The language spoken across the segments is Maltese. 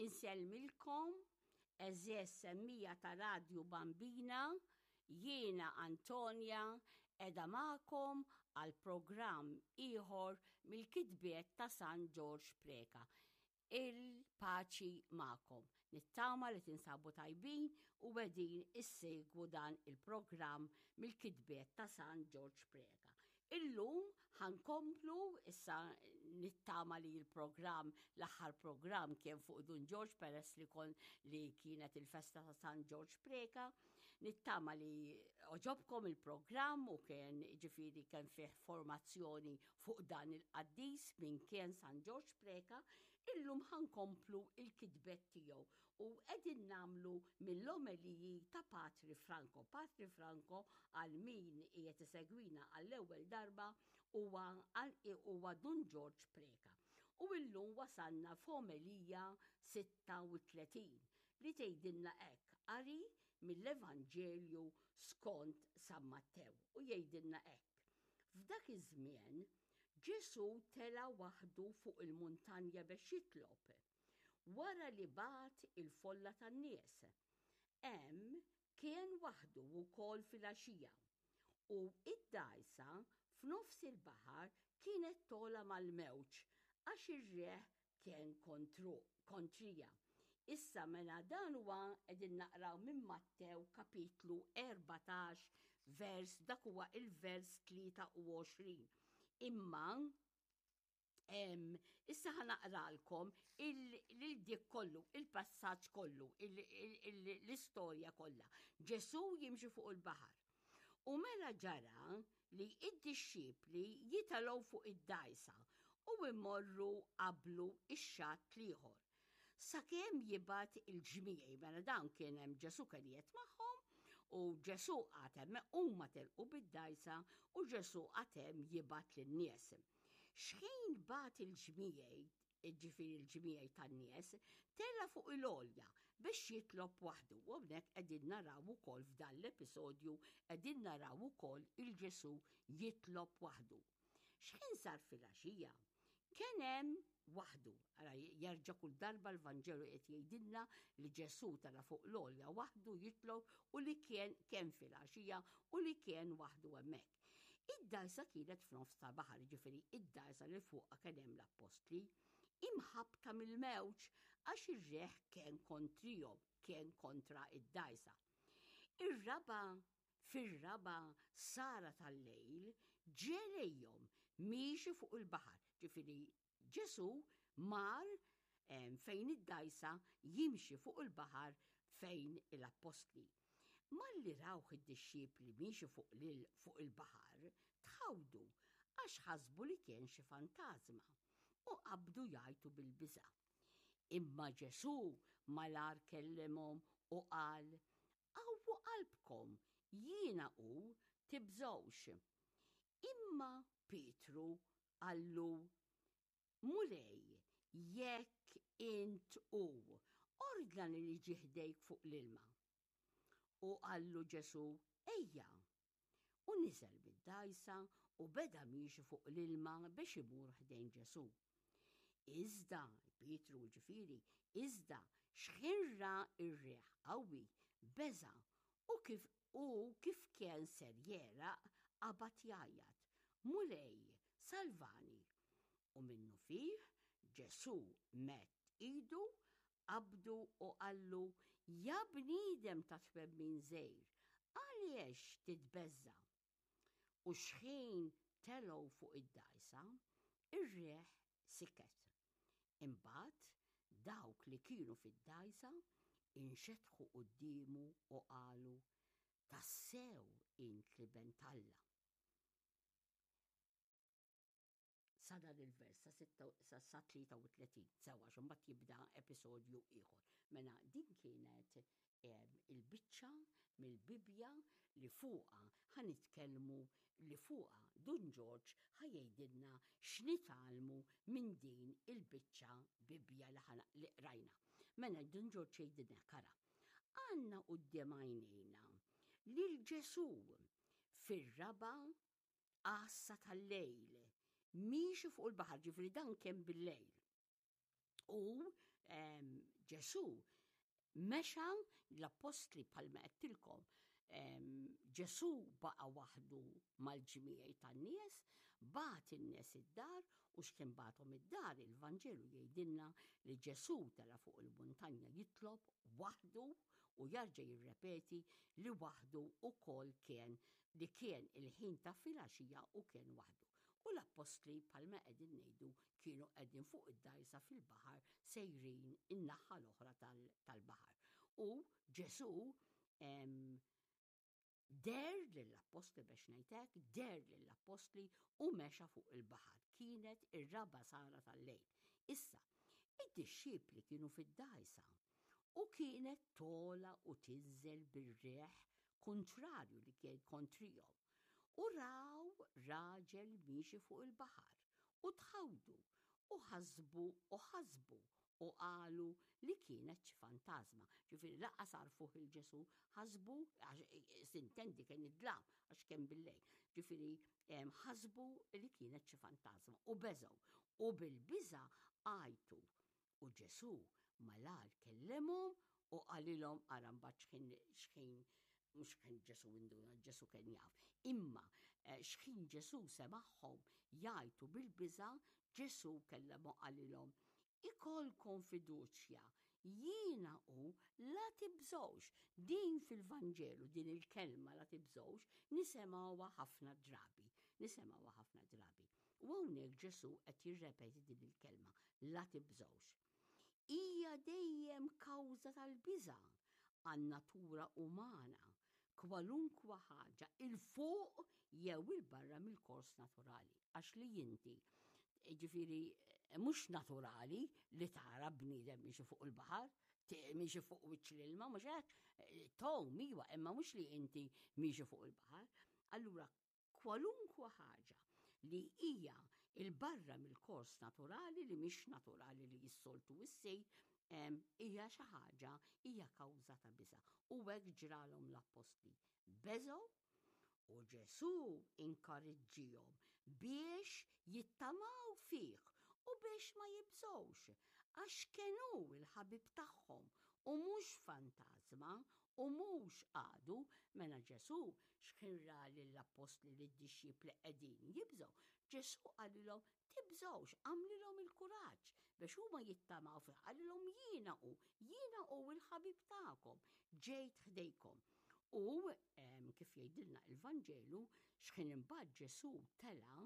Insellmilkom, għeżież semmija ta' Radju Bambina, jiena Antonia qiegħda magħkom għal programm ieħor mill-kitbiet ta' San Ġorġ Preca. Il-paċi magħkom. Nittama li tinsabu tajbin u qegħdin issegwu dan il-programm mill-kitbiet ta' San Ġorġ Preca. Illum ħa nkomplu, issa nittama li l-programm, l-aħħar programm kien fuq Dun Ġorġ peress li kon li kienet il-festa ta' San Ġorġ Preca. Nittama li oġobkom il-programm u kien ġifiri kien fih formazzjoni fuq dan il-qaddis minn kien San Ġorġ Preca. Illum ħa nkomplu il-kitbet tiegħu u qegħdin nagħmlu mill-omeliji ta' Patri Franco. Patri Franco għal min qiegħed isegwina għall-ewwel darba huwa huwa Dun Ġorġ Preca. U illum wasalna f'omelija 36 li tgħidilna hekk qari mill-Evanġelju skont San Mattew u jgħidilna hekk. F'dak iż-żmien Ġesù tela' waħdu fuq il-muntanja biex jitlob. Wara li bagħat il-folla tan-nies. Hemm kien waħdu wkoll filgħaxija, u id-dgħajsa f'nofs il-baħar kienet togħla mal-mewġ għax ir-riħ kien kontru, kontrija. Issa mela dan huwa qegħdin naqraw minn Mattew kapitlu 14 vers dak huwa il-vers 23. Imma Issa ħa naqralkom lil dik kollu, il-passaġġ kollu, l-istorja kollha. Ġesù jimxi fuq il-baħar. U mela ġara li id-dixxipli jitalgħu fuq id-dgħajsa u imorru qablu ix-xatt l-ieħor. Sakemm jibgħat il-ġmiegħi, mela dawn kien hemm Ġesù kien qiegħed magħhom u Ġesù qagħad hemm huma telqu bid-dgħajsa u Ġesù qagħad hemm jibgħat lin-nies. Xħin bagħat il-ġmiegħi, ġifieri l-ġmiegħi tan-nies, tela' fuq il-għolja biex jitlob waħdu. U hawnhekk qegħdin naraw ukoll f'dan l-episodju qegħdin naraw ukoll il-Ġesù jitlob waħdu. Xħin sar filgħaxija, kien hemm waħdu. Ara jerġa' kull darba l-Vanġelu qed jgħidilna li Ġesù tala fuq l-għolja waħdu jitlob u li kien kemm filgħaxija u li kien waħdu hemmhekk. Id-dgħajsa kienet f'nofs ta' baħar, jiġifieri id-dgħajsa li fuqha kien hemm l-appostli, imħabbta mill-mewġ għax ir-riħ kien kontrihom, kien kontra id-dgħajsa. Ir-raba' fir-raba' sara tal-lejl ġie lejhom miexi fuq il-baħar, ġifieri Ġesù mar fejn id-dgħajsa jimxi fuq il-baħar fejn l-appostli. Malli rawh id-dixxipli miexi fuq lil fuq il-baħar, tħawdu għax ħasbu li kien xi fantażma u qabdu jgħajtu bil-biża'. Imma Ġesù malar kellimhom u qal, Qawwu qalbkom, jiena hu, tibżgħux. Imma Pietru qallu, Mulej, jekk int hu, ordnali niġi ħdejk fuq l-ilma. U qallu Ġesù, Ejja. U niżel mid-dgħajsa u beda miexi fuq l-ilma biex imur ħdejn Ġesù. Iżda, Pietru ġifieri, iżda xħin ra r-riħ qawwi, beża' u kif u kif kien ser jegħraq qabad jgħajjat, Mulej, salvani! U minnufih Ġesù medd idu, qabdu u qallu, Ja bniedem ta' twemmin żgħir, għaliex titbeżża'? U xħin telgħu fuq id-dgħajsa, ir-riħ siket. Imbagħad dawk li kienu fid-dgħajsa inxetħu quddiemu u qalu, Tassew int l-Iben t'Alla. Sa dan il-vers sa 36, sewa xumbat jibda episodju ieħor. Mela din kienet il-biċċa mill-Bibbja li fuqha ħa nitkellmu li fuqha Dun Ġorġ ħa jgħidilna x'nitgħallmu minn din il-biċċa Bibbja li ħa li qrajna. Mela Dun Ġorġ jgħidilna kara. Għandna quddiem għajnejna lil Ġesù fir-raba' għassa tal-lejl miexi fuq il-baħar, ġifieri dan kien bil-lejl. U Ġesù mexa l-appostli bħalma għedtilkom Ġesù baqa' waħdu mal-ġmiegħi tan-nies, bagħat in-nies id-dar u x'kien bagħathom id-dar il-Vanġelu jgħidilna li Ġesù tela' fuq il-muntanja jitlob waħdu u jarġa' jirrepeti li waħdu wkoll kien li kien il-ħin ta' filgħaxija u kien waħdu. U l-appostli bħalma qegħdin ngħidu kienu qegħdin fuq id-dgħajsa fil-baħar sejrin in-naħa l-oħra tal-baħar. U Ġesù deher lill-appostli biex ngħid hekk, deher lill-appostli u mexa fuq il-baħar. Kienet ir-raba' sara tal-lejl. Issa, id-dixxipli kienu fid-dgħajsa u kienet tola u tinżel bir-riħ kuntrarju li kien kontrihom. U raw raġel miexi fuq il-baħar u tħawdu u ħasbu u ħasbu u qalu li kienet xi fantażma. Ġifieri lanqas għarfuh 'il Ġesù, ħasbu, għax sintendi kien id-dlam, għax kien bil-lejl. Ġifieri ħasbu li kienet xi fantażma u beżgħu. U bil-biża' għajtu. U Ġesù malajr kellimhom u qalilhom, ara mbagħad x'ħin x'ħin mhux x'ħin Ġesù induna, Ġesù kien jaf. Imma eh, x'ħin Ġesù semagħhom jgħajtu bil-biża', Ġesù kellemhom qalilhom, Ikollkom fiduċja, jiena hu, la tibżgħux. Din fil-Vanġelu, din il-kelma la tibżgħux, nisemgħuha ħafna drabi. Nisemgħuha ħafna drabi. U hawnhekk Ġesù qed jirrepeti din il-kelma, la tibżgħux. Hija dejjem kawża tal-biża' għan-natura umana, kwalunkwa ħaġa 'il fuq jew 'il barra mill-kors naturali. Għax li inti, ġifieri mhux naturali li tara bniedem miexi fuq il-baħar, miexi fuq wiċċ l-ilma, mhux hekk, tgħum iwa, imma mhux li inti miexi fuq il-baħar. Allura kwalunkwa ħaġa li hija 'il barra mill-kors naturali li mhix naturali li s-soltu issir, hija xi ħaġa, hija kawża ta' biża'. U hekk ġralhom l-appostli. Beżgħu u Ġesù inkariġġihom biex jittamaw fih u biex ma jibżgħux, għax kien hu l-ħabib tagħhom u mhux fantażma u mhux għadu. Mela Ġesù X'ħin ra lill-appostli lid-dixxipli qegħdin jibżgħu, Ġesù qalilhom, Tibżgħux, għamlilhom il-kuraġġ biex huma jittamaw fih, qalilhom, Jiena hu, jiena hu l-ħabib tagħkom, ġejt ħdejkom. U kif jgħidilna il-Vanġelu, x'ħin imbagħad Ġesù tela'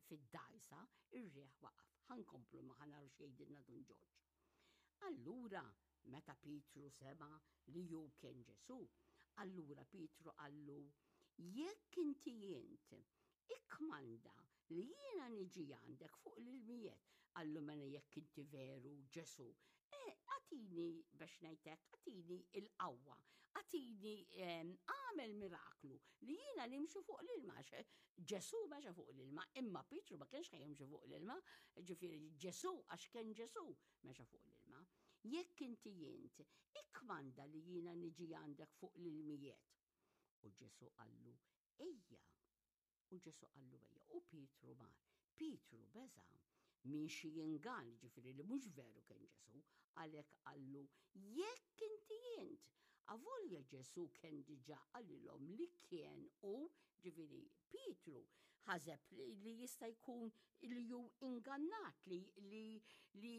fid-dgħajsa, ir-riħ waqaf. Ħa nkomplu imma ħa naraw x'jgħidilna Dun Ġorġ. Allura, meta Pietru sema' li hu kien Ġesù, allura Pietru qallu, Jekk inti int, ikkmanda li jiena niġi għandek fuq l-ilmijiet. Qallu, Mela jekk inti veru Ġesù, eh, agħtini biex ngħid hekk, agħtini l-qawwa, agħtini agħmel miraklu li jiena nimxi fuq l-ilma. Ġesù mexa fuq l-ilma, imma Pietru ma kienx jimxi fuq l-ilma, ġifieri Ġesù għax kien Ġesù mexa fuq l-ilma. Jekk inti int, ikkmanda li jiena niġi għandek fuq l-ilmijiet. U Ġesù qallu, Ejja. U Ġesù qallu ejja. U Pietru mar. Pietru beża' minn xi ingann, ġifieri li mhux veru kien Ġesù, għalhekk qallu, Jekk inti int. Avolja Ġesù kien diġà qalilhom li kien hu, ġifieri Pietru ħaseb li jista' jkun li hu ingannat li li li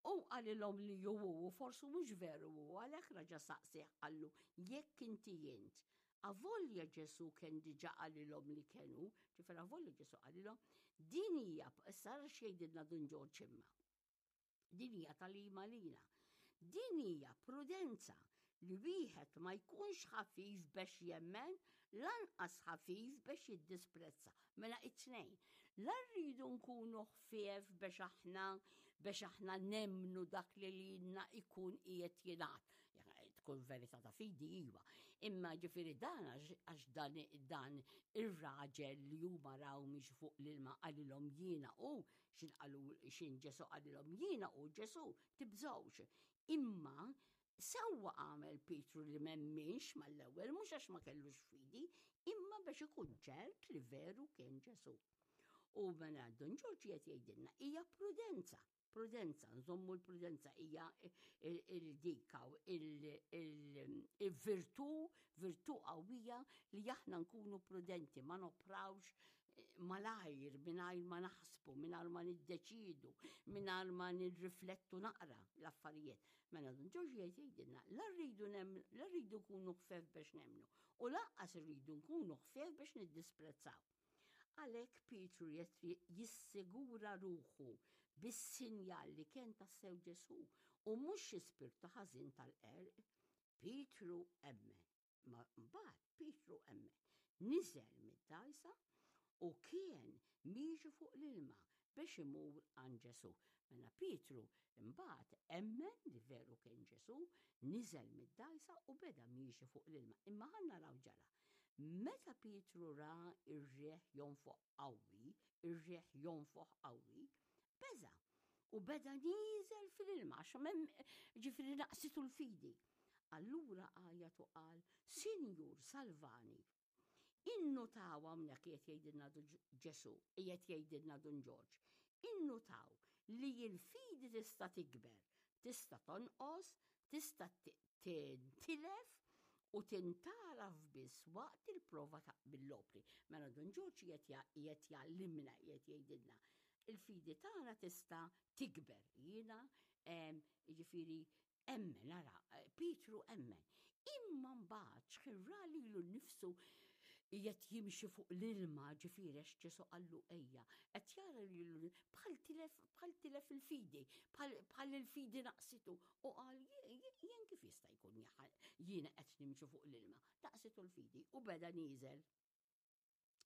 hu qalilhom li hu hu u forsi mhux veru hu, għalhekk raġa' saqsieh qallu, jekk inti int. Avolja Ġesù kien diġà qalilhom li kien hu, ġifieri avolja Ġesù qalilhom, din hija, issa ara x'jgħidilna Dun Ġorġ imma. Din hija tagħlima lina. Din hija prudenza li wieħed ma jkunx ħafif bex jemmen, lanqas ħafif bex jiddisprezza. Mela it-tnejn. La rridu nkunu ħfief bex aħna bex aħna nemmnu dak li lilna ikun qiegħed jingħad. Tkun verità ta' fidi iva. Imma ġifieri dan għax dan, dan ir-raġel li huma raw miex fuq l-ilma qalilhom jiena u X'in qalu x'in Ġesù qalilhom jiena hu Ġesù, tibżgħux. Imma sewwa għamel Pietru li m'emminx mal-ewwel mhux għax ma kellux fidi, imma biex ikun ċert li veru kien Ġesù. U mela Dun Ġorġ qed jgħidilna hija prudenza. Prudenza, nżommu l-prudenza hija il-dika il-virtù, virtù qawwija li aħna nkunu prudenti, ma noprawx eh, malajr mingħajr ma naħsbu, mingħajr ma niddeċidu, mingħajr ma nirriflettu naqra l-affarijiet. Mela Dun Ġorġ jgħid jgħidilna, la rridu la rridu nkunu ħfef biex nemmnu u lanqas irridu nkunu ħfef biex niddisprezzaw. Għalhekk Pietru jissigura ruħu bis-sinjal li kien tassew Ġesù u mhux xi spirtu ħażin tal-qerq. Pietru emmen. Ma mbagħad Pietru emmen. Niżel mid-dgħajsa u kien miexi fuq l-ilma biex imur għand Ġesù. Mela Pietru mbagħad emmen li veru kien Ġesù, niżel mid-dgħajsa u beda miexi fuq l-ilma. Imma ħa naraw ġara. Meta Pietru ra r-riħ jonfoħ qawwi, ir-riħ jonfoħ qawwi, beża' u beda nieżel fil-ilma għax ġifieri naqsitu l-fidi. Allura għajat u qal, Sinjur, salvani. Innutaw hawnhekk qiegħed jgħidilna Ġesù, qiegħed jgħidilna Dun Ġorġ, innutaw li l-fidi tista' tikber, tista' tonqos, tista' tintilef u tintgħaraf biss waqt il-prova ta' mill-opri. Mela Dun Ġorġ qiegħed jgħallimna, qiegħed jgħidilna, il-fidi tagħna tista' tikber. Jiena, jiġifieri Emmen, ara, Pietru emmen. Imma mbagħad x'ħin ra lilu nnifsu qiegħed jimxi fuq l-ilma, ġifieri għax Ġesù qallu ejja, qed jara lilu bħal tilef bħal tilef il-fidi, bħal il-fidi naqsitu u qal jien kif jista' jkun jiena qed nimxi fuq l-ilma. Naqsitu l-fidi u beda nieżel.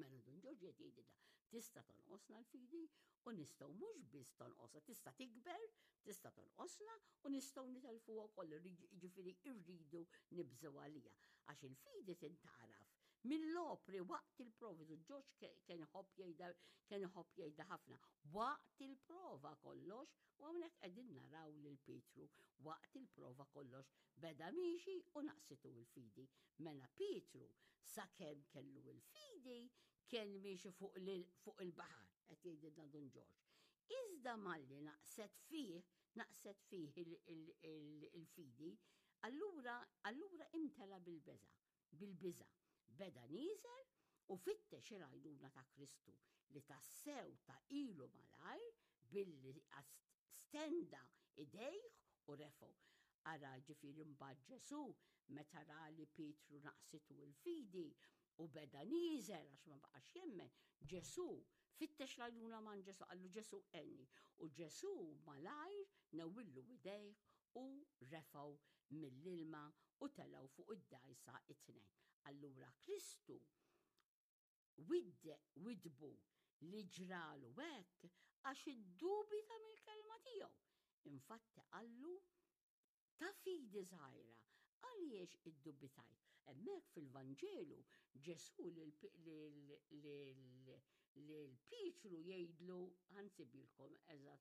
Mela Dun Ġorġ qed jgħidilna, tista' tonqosna l-fidi u nistgħu mhux biss tonqosha, tista' tikber, tista' tonqosna u nistgħu nitelfuha wkoll, jiġifieri rridu nibżgħu għaliha. Għax il-fidi tintgħaraf mill-opri waqt il-provi, Dun Ġorġ kien iħobb jgħidha kien iħobb jgħidha ħafna, waqt il-prova kollox, u hawnhekk qegħdin naraw lil Pietru waqt il-prova kollox Beda miexi u naqsitu l-fidi. Mela Pietru, sakemm kellu l-fidi, kien miexi fuq il-baħar, qed jgħidilna Dun Ġorġ. Iżda malli naqset fih, naqset fih il-fidi, allura allura imtela bil-beża', bil-biża'. Beda nieżel u fittex il-għajnuna ta' Kristu li tassew ta ilu malajr billi stenda idejh u refgħu. Ara, ġifieri mbagħad Ġesù, meta ra li Pietru naqsitu l-fidi u beda nieżel għax ma baqax jemmen, Ġesù fittex l-għajnuna m'għand Ġesù, qallu Ġesù għenni. U Ġesù malajr newwillu idejh u refgħu mill-ilma u telgħu fuq id-dgħajsa it-tnejn. Allura Kristu widdbu li ġralu hekk għax iddubita mill-kelma tiegħu. Infatti qallu, Ta' fidi żgħira, għaliex iddubitajt? Hemmhekk fil-Vanġelu Ġesù lil Pietru jgħidlu, ħa nsibilkom eżatt.